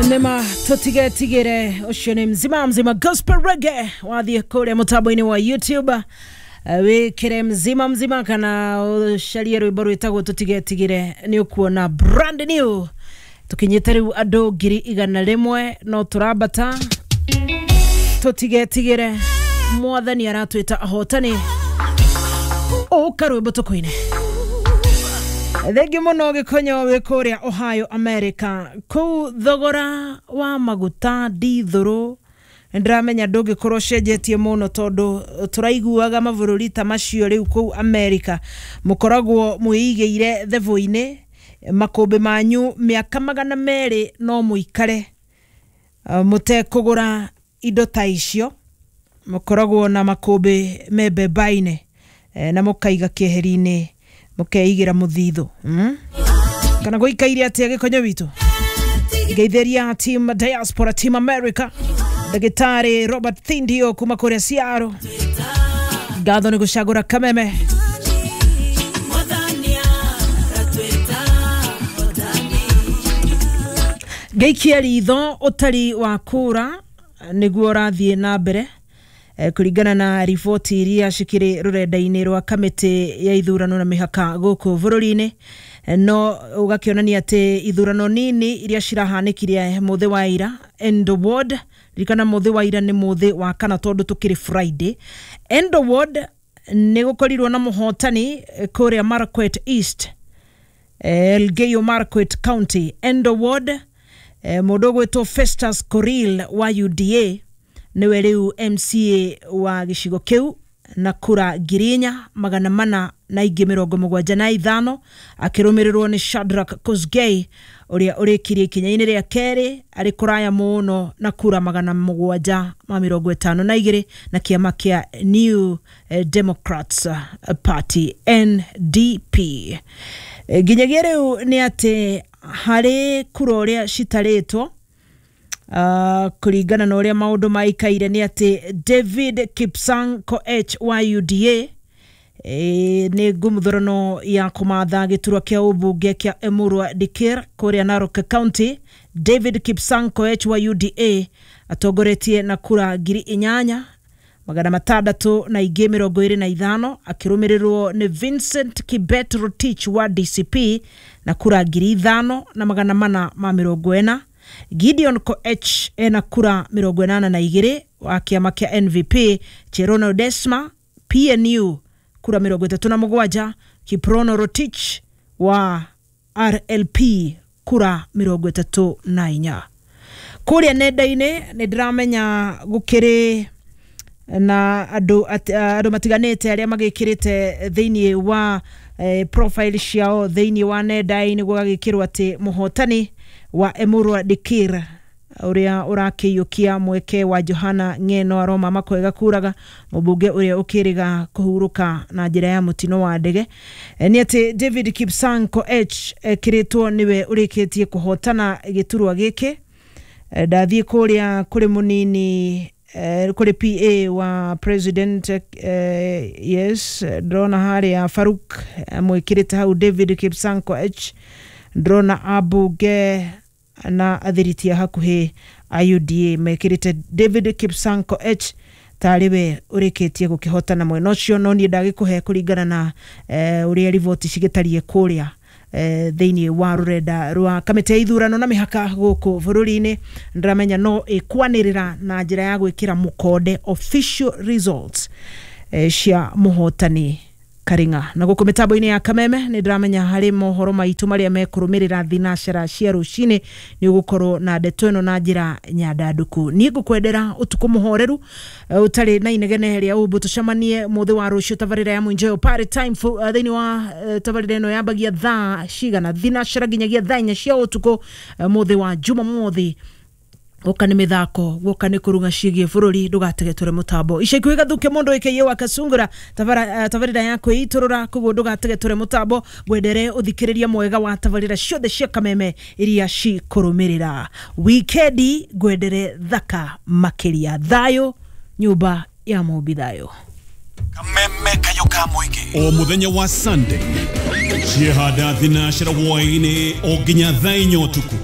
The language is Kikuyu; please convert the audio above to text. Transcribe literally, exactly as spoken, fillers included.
Nema tutigetigire ucio ni mzima mzima gospel reggae wathie kuria mutambo-ini wa YouTube wikire mzima mzima kana ucarie rwimbo rwitagwo tutigetigire ni ukuona brand new tukinyite riu andu ngiri igana rimwe no turambata tutigetigire mwathani aratwita ahotani uka rwimbo tukuine. Thengi muno gikonyo wi kuria Ohio America kuu thogora wa maguta ndithuru ndiramenya ndungikorwo cenjetie muno tondu turaiguaga mabũrũri ta macio riu kuu America mukoragwo mwiigĩire thebu-inĩ makũmbĩ manyu mĩaka magana merĩ no mũikare mũtekũgũra indo ta icio mukoragwo na makũmbĩ me mbemba-inĩ na mũkaiga keheri-inĩ mukeigira muthitho mm? Kana goikaire atia gikonyo witu ngeithiria team diaspora team America Daktari Robert Thindio kuma kuria Seattle ngatho ni gucagura Kameme ngeikia ritho utari wa kura niguo urathie na mbere kuringana na riboti iria cikiri rurenda-inĩ rwa kamĩtĩ ya ithurano na mĩhaka gũkũ bũrũri-inĩ no ũgakĩonania atĩ ithurano nini iria cirahanĩkire mũthĩ wa ira Endo Ward ririkana mũthĩ wa ira nĩ mũthĩ wa kana tondũ tũkĩrĩ Friday Endo Ward nĩ gũkorirwo na mũhotani kũrĩa Marakwet East Elgeyo Marakwet County Endo Ward mũndũ ũgwĩtwo Festus Koril wa U D A niwe riu M C A wa gicigo kiu na kura ngiri inya magana mana na ingĩ mĩrongo mũgwanja na ithano akĩrũmĩrĩrwo nĩ Shadrack Kosgei ũrĩa ũrĩkirie ikinya-inĩ rĩa kerĩ arĩ kũraya mũno na kura magana mũgwanja ma mĩrongo ĩtano na igĩrĩ na kĩama kĩa New Democrats Party N D P. Nginyagia rĩu nĩ atĩ harĩ kura ũrĩa citarĩtwo Uh, kuringana na ũrĩa maũndũ maikaire nĩ atĩ David Kipsang Koech wa U D A e, nĩ ngũmũthurano ya kũmatha gĩturwa kĩa ũmbunge kĩa Emurua Dikir kũrĩa Narok County. David Kipsang Koech wa U D A atongoretie na kura ngiri inyanya magana matandatũ na ingĩ mĩrongo ĩrĩ na ithano akĩrũmĩrĩrwo nĩ Vincent Kibet Rotich wa D C P na kura ngiri ithano na magana mana ma mĩrongo ĩna. Gideon Koech ena kura mĩrongo ĩnana na igĩrĩ wa kĩama kĩa N V P, Cherono Desma P N U kura mĩrongo ĩtatũ na mũgwanja, Kiprono Rotich wa R L P kura mĩrongo ĩtatũ na inya. Kũrĩa nenda-inĩ nĩ ndĩramenya gũkĩrĩ na andũ andũ matiganĩte arĩa magĩkĩrĩte thĩinĩ wa eh, profile ciao thĩinĩ wa nenda-inĩ gũgagĩkĩrwo atĩ mũhotani wa Emurua Dikir uria urakiyukia mweke wa Johana Ng'eno Aroma makwega kuraga mubunge uria ukiriga kuhuruka na njira ya mutino wa ndege ni ati David Kipsang Koech kiritwo niwe urikitie kuhotana giturwa giki. Ndathie kuria kuri munini kuri P A wa president eh, yes ndrona haria Faruk mwikirite hau David Kipsang Koech ndrona abunge na athiritia hakuhi a U D A mekirite David Kipsang Koech tariwe urikitie gukihotana mwena ucio no nie ndagikuhe kuringana na eh, uria riboti cigitarie kuria eh, thiini wa rurenda rwa kamite ya ithurano na mihaka guku bururi-ini ndiramenya no ikwanirira na njira ya gwikira mukonde official results eh, cia muhotani Karinga. Na guku mitambo-ini ya Kameme ni ndiramenya hari mohoro maitu maria mekurumirira thinacera cia rucini ni ugukorwo na ndeto ino na njira nyandanduku. Ni ngukwendera utuku muhoreru utari na inegene ria umbu tucemanie muthi wa rucio tabarira ya Mwinjoyo party time uh, thiini wa uh, tabarira ino yambagia thaa cigana thinacera nginyagia thaa inya cia utuku uh, muthi wa Jumamothi guka ni mithako guka ni kurunga cigie bururi ndugategetore mutambo ica ikuhi gathuke mundu ikiye wa kasungura tabara tabarira ya kwiturura koguo ndugategetore mutambo ngwendere uthikiriria mwega wa tabarira ciothe cia Kameme iria cikurumirira wikendi ngwendere thaka makiria thayo nyumba ya Mumbi thayo Kameme kayo ka muingi o muthenya wa Sunday ciehanda thinacera hwaini o nginya thaa inya utuku.